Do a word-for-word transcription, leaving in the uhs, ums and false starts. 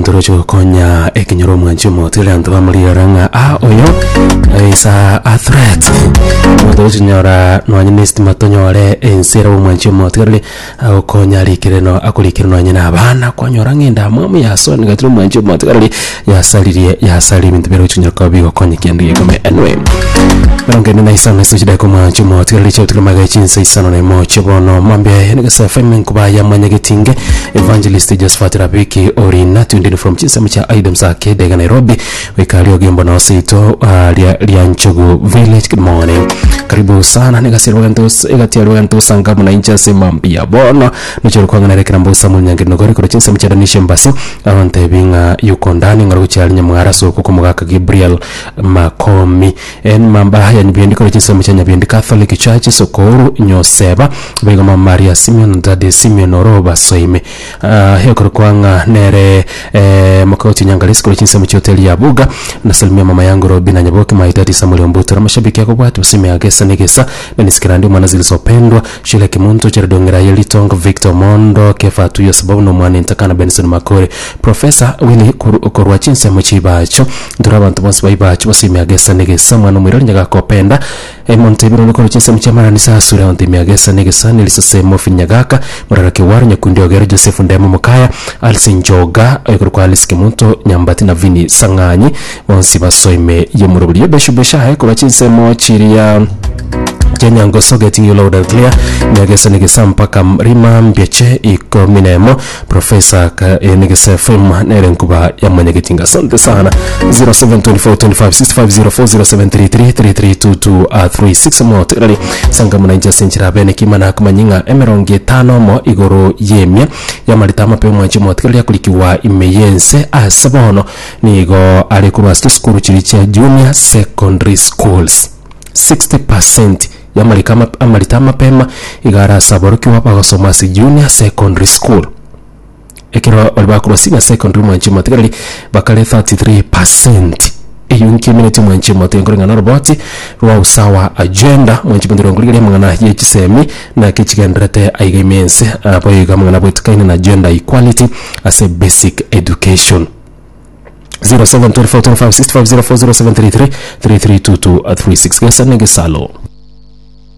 Omonto oroche gokonya ekenyoro omwanchi omotere anto bamorira ng'a ah oyo is a, a threat. Omonto oroche nyora nonye na estima tonyore ense ere omwanchi omotigareri agokonya arikere no akorikere nonye na abana kwanyora ng'a endamwamu yasoni gatire omwanchi omotigareri yasaririe yasaririe ebinto biaroche konyora koba bigokonya kende gekome. Anyway, mirongo ene na isano ase chidakika omwanchi omotigareri chiabutikire magega chinsa isano na emo chibono mambia negesa F M nkuba ya mwanyagetinge Evangelist Josephat Rabiki Orina tuned in from chinsemo chia Aidems Arcade iga Nairobi goika Ogembo na Oseito uh, ria, ria Nchogu Village. Good morning, karibu sana. Negasira egati rwento osanga muna inche ase mambia bono nochero kwang'ana rekera mbosa munyange nogore kora chinsemo chia Danish Embassy abantebi ng'a yuko ndani ng'aro gochiari nyamwara soko komogaka Gabriel Makomi en mamba ya Nyabiendi kora chinsemo chia Nyabiendi Catholic Church Sokoru Nyoseba baiga Mama Maria Simeon, Daddy Simeon Oroba Soime uh, hekoro kwang'a nere eh, mokauti nyangalisi kora chinsemo chia hoteli ya Buga. Nasalimia mama yangu Robina Nyaboke, my daddy Samuel Ombuto, mashabiki yako bwati usime agesa negesa nanisikirandi mwana zilizopendwa Shile Kimuntu Cheredongera Yelitongo Victor Mondo Kefa Tuyo sababu no mwana ntakana Benson Makore Professor Willy korwa chinsemo chibacho ndura abantu bonse baibacho basime agesa negesa mwana mwirori nyagakopenda emonte biro koro chinsemo chamarani sasura onte miagesa negesa nilisosemo finyagaka murara kiwaru nyakundi ogero Joseph Ndemo Mukaya Alice Njoga ekoro kwa Alice Kimuntu Nyambati na Vini Sang'anyi bonsi basoime yemuruburi beshu beshahe korwa chinsemo chiria Jenyangoso, getting you loud and clear. Nyagesa nigesa mpaka rima mbyeche ikomi nemo Professor eh, nigesa F M nere nkuba ya mwanyagetinga. Asante sana. zero seven two four two five six five zero four zero seven three three three three two two three six mo tirari sanga muna senchira bene kimana kumanyinga emerongo etano mo igoro yemia yamarita amape omwanchi motigareri akurikiwa ime yense ase bono nigo ari korwa ase chisukuru chiri chia junior secondary schools sixty percent yamarika amarita amapema igara saborokiwa bagosoma ase junior secondary school ekero bari bakorwa senior secondary mwanchi motigareri bakare thirty-three percent. Eyo nkimineti mwanchi mote nkoreng'ana roboti rwa Usawa Agenda mwanchi motigareri ngorigeria mang'ana ye chisemi na kichigenderete aiga imense abo iga mang'ana bwetikaine na gender equality ase basic education. zero seven two four two five six five zero four zero seven three three three three two two three six gesa negesalo.